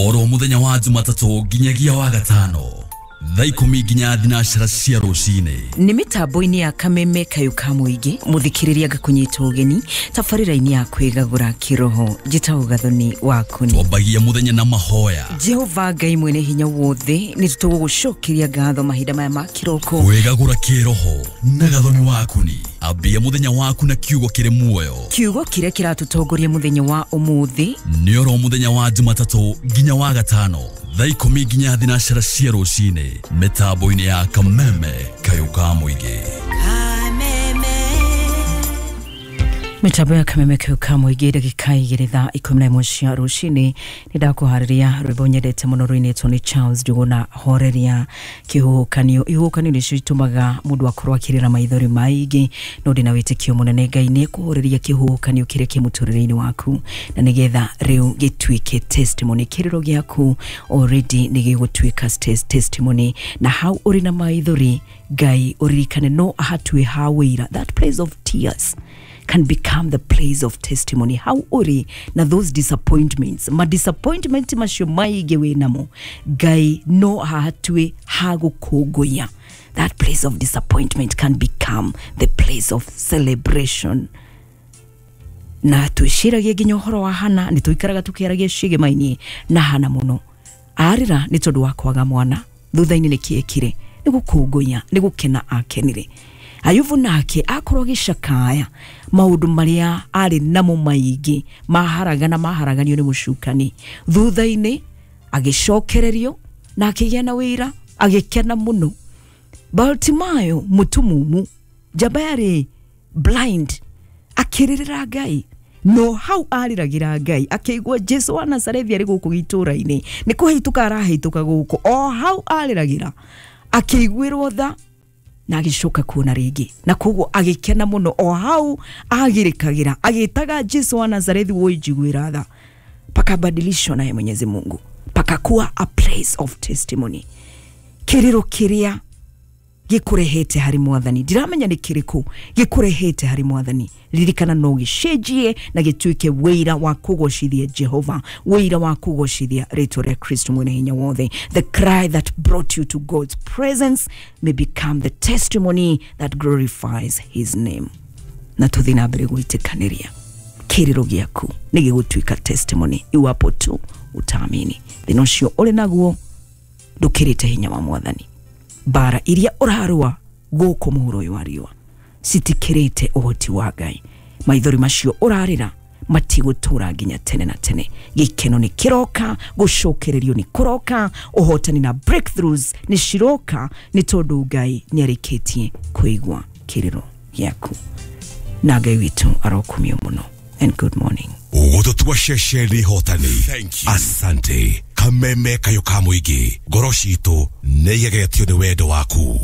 Oro muthenya wa Jumatatũ nginyagia wa gatano thaa 10 nginya 12 cia rũcinĩ. Nĩ mĩtambo-inĩ ya Kameme Kayũ ka Mũingĩ, mũthikĩrĩria ngakũnyita ũgeni tabarĩra-inĩ ya kwĩgagũra kĩroho. Njĩtagwo Gathoni Wakuni. Twambagia mũthenya na mahoya. Jehova Ngai mwene hinya wothe, nĩ tũgũgũcokeria ngatho mahinda maya ma kĩroko. Kwĩgagũra kĩroho na Gathoni Wakuni. Ambia mũthenya waku na kiugo kĩrĩ muoyo. Kiugo kĩrĩa kĩratũtongoria mũthenya wa ũmũthĩ nĩ oro mũthenya wa Jumatatũ nginya wa gatano thaa 10 nginya 12 cia rũcinĩ mĩtambo-inĩ ya Kameme Kayũ ka Mũingĩ. Mĩtambo ya Kameme Kayũ ka Mũingĩ, ndagĩka 2 thaa 11 cia rũcinĩ. Nĩ ndakũharĩria rwĩmbo nyendete mũno rũinĩtwo nĩ Charles Njuguna, Horeria Kĩhuhũkanio. Ihuhũkanio nĩcio itũmaga mũndũ akorwo akĩrĩra maithori maingĩ, no ndĩna wĩtĩkio mũnene Ngai nĩ ekũhoreria kĩhuhũkanio kĩrĩa kĩ mũtũrĩre-inĩ waku, na nĩgetha rĩu gĩtuĩke testimony. Kĩrĩro gĩaku already nĩ gĩgũtuĩka testimony, na hau ũrĩ na maithori Ngai ũririkane no ahatue ha wĩira. That place of tears can become the place of testimony. How uri na those disappointments, ma disappointment macio maingĩ wĩ namo, Ngai no ahatue ha gũkũngũiya. That place of disappointment can become the place of celebration. Na twĩciragie nginya ũhoro wa Hana, nĩ tũikaraga tũkĩaragia ciĩgĩma-inĩ na Hana mũno. Arĩra nĩ tondũ wa kwaga mwana, thutha-inĩ nĩ kĩekire, nĩ gũkũngũiya, nĩ gũkena akenire. Ayubu nake akorwo agĩcakaya maũndũ marĩa arĩ namo maingĩ maharagana maharaganio nĩ mũcukani, thutha-inĩ agĩcokererio na akĩgĩa na wĩra, agĩkena mũno. Bartimayo mũtumumu, njamba yarĩ blind, akĩrĩrĩra Ngai, no hau arĩragĩra Ngai akĩigua Jesu wa Nazarethi arĩ gũkũ gĩtũra-inĩ, nĩ kũhĩtũka arahĩtũka gũkũ, o hau arĩragĩra akĩiguĩrwo tha na agĩcoka kuona rĩngĩ, na koguo agĩkena mũno. O hau agĩrĩkagĩra agĩtaga Jesu wa Nazarethi, woi njiguĩra tha. Pakabadilishwa naye Mwenyezi Mungu, pakakuwa a place of testimony. Kĩrĩro kĩrĩa gĩkũrehete harĩ mwathani, ndiramenya nĩ kĩrĩkũ gĩkũrehete harĩ mwathani, ririkana no gĩcenjie na gĩtuĩke wĩira wa kũgocithia Jehova, wĩira wa kũgocithia rĩtwa rĩa Kristo mwene hinya wothe. The cry that brought you to God's presence may become the testimony that glorifies his name. Na tũthiĩ na mbere gwĩtĩkanĩria, kĩrĩro gĩaku nĩ gĩgũtuĩka testimony iwapo tu utaamini. Thĩna ũcio ũrĩ naguo ndũkĩrĩte hinya wa mwathani. Bara iria ũrarũa gũkũ mũhuro ũyũ wa riũa citikĩrĩte ũhoti wa Ngai. Maithori macio ũrarĩra matigũtũra nginya tene na tene. Gĩkeno nĩ kĩroka, gũcokererio nĩ kũroka, ũhotani na breakthroughs nĩ ciroka, nĩ tondũ Ngai nĩ arĩkĩtie kũigua kĩrĩro gĩaku. Na Ngai witũ arokumio mũno. And good morning. Ũgũtũtua ceceni hotani. Asante. Kameme Kayũ ka Mũingĩ, ngoro citũ nĩ igegetio nĩ wendo waku.